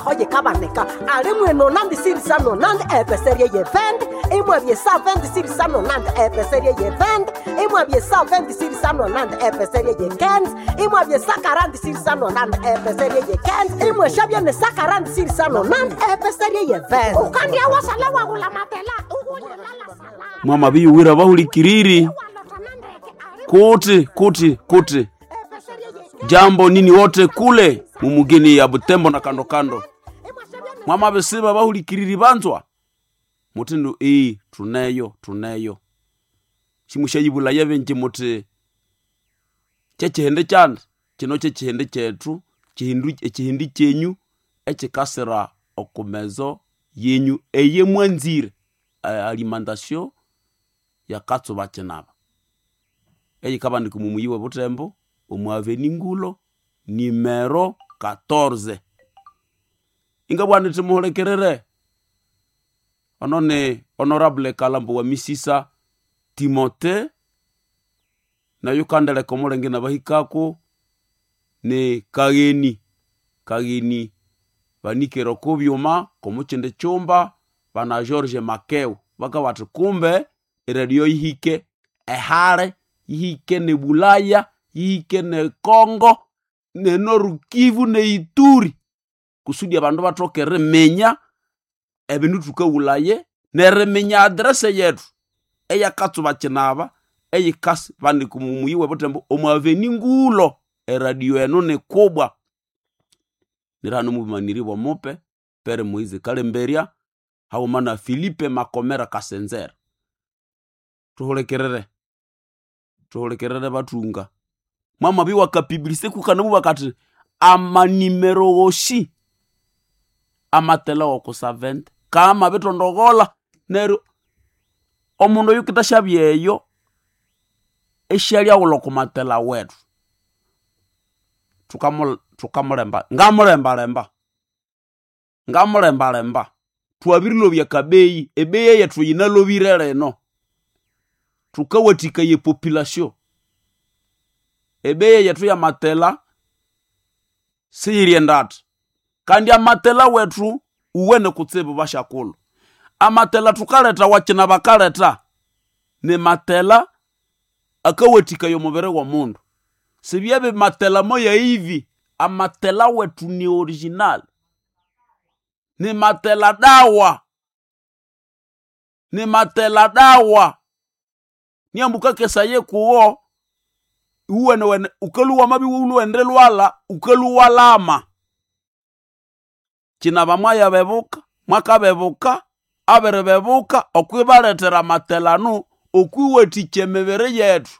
Oye kabaneka ali mweno nandi sirisano nandi epeserie ye vende imwabye sa vende sirisano nandi epeserie ye vende imwabye sa vende sirisano nandi epeserie ye kenz imwabye sa karandi sirisano nandi epeserie ye kenz imweshabye ne sa karandi sirisano nandi epeserie ye vende ukandia wasala wagula matela ugunyelala sala Mwamabiyuwira bahulikiriri kuti kuti kuti jambo nini wote kule mumugini ya Butembo na kando kando mwamabisiba bahulikiriri banzwa mutindu iyi tuneyo tuneyo simushayibulaya benji muti kyekihindi kyandi kino kyekihindi kyethu ekihindi kyenyu ekikasira okumezo yenyu eyemwanzire alimentation yakatsuba kinaba eyikabandika omumuyi we Butembo omu aveni Ngulo nimero 14 ingabugha nithi muhulikirire ono ni honorable Kalambo wa Misisa Timote nayo kandeleka omulenge nabahikako ni kagheni kagheni banikere oko byuma komukyindi kyumba bana George Makeo bakabugha bathi kumbe eradio yihike ehale yihike ne Bulaya yihike ne Congo ne Nord-Kivu ne Ituri kusudi abandu bathoke eriminya ebindu thukawulaye neriminya address yethu eyakatsuba kinaba eyikasi bandika omumuyi we Butembo omu aveni Ngulo eradio eno nikubwa nirihano omubumaniri bwomupe Pere Moise Kalemberya haghuma na Philipe Makomera Kasenzera thuhulikirire thuhulikirire bathunga mwamabya iwakapibilise kukanabugha kathi amanimero wosi amatela woku 70 kamabithondoghola neryo omundu oyukithasyabya eyo esyalyawulha okumatela wethu thukamulemba ngamulembalemba ngamulembalemba thwabirilobya akabeyi ebeyi eyethu yinalobire lino thukawathikaya epopulation ebeyi eyethu yamatela siyiri endatha kandi amatela wethu uwene kutsibu basyakulhu amatela thukaletha wakyina bakaletha ni matela akawathikaya omubiri w'omundu sibyabya matela moya ivi amatela wethu ni original ni matela dawa ni matela dawa niambu kuwo iwuwenewene ukalhuwa wamabya iwulhuwende lhwalha ukalhuwa lama kyinaba mwayabebuka mwakabebuka abiribebuka okwibalethera amatela anu okwiwathikya emibiri yethu.